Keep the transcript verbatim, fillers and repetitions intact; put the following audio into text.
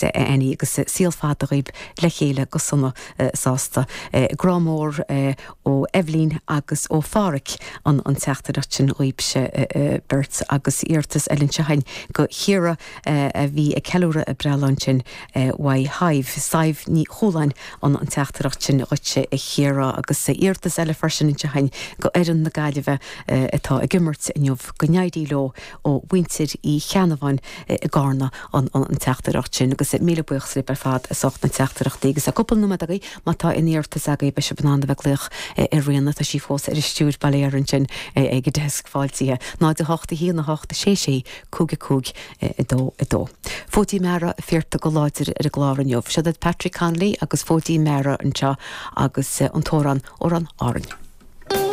Annie agus saol fada dhaoibh le chéile go sona sásta. Grá mór ó Eibhlín agus ó Pháraic an an teachtaireacht sin dhaoibhse beirt agus iarratas eile anseo againn do Chiara a bhí ag ceiliúradh a breithlá ansin uaidh Shadhbh Sadhbh Ní Chualáin an an teachtaireacht sin dhuitse a Chiara agus iarratas eile freisin anseo againn do fhoireann na Gaillimhe atá ag imirt inniu go n-éirí leo ó mhuintir Uí Cheannabháin i gCarna an an teachtaireacht sin agus míle buíochas libh ar fad as ucht na teachtaireachtaí agus cúpla nóiméad agaibh má tá aon iarratas agaibh beidh sibh in ann a bheith ag glaoch ar Ríona tá sí fós ar an stiúir bail ó Dhia uirthi ansin ag an deasc fáiltithe. Náid a hocht a haon a hocht sé sé cúig a cúig a dó a dó. Fóidí Meara feictear go láidir ar an gclár inniu. Seo iad Patrick Connolly agus Fóidí Meara anseo agus an t-amhrán Amhrán Árainn.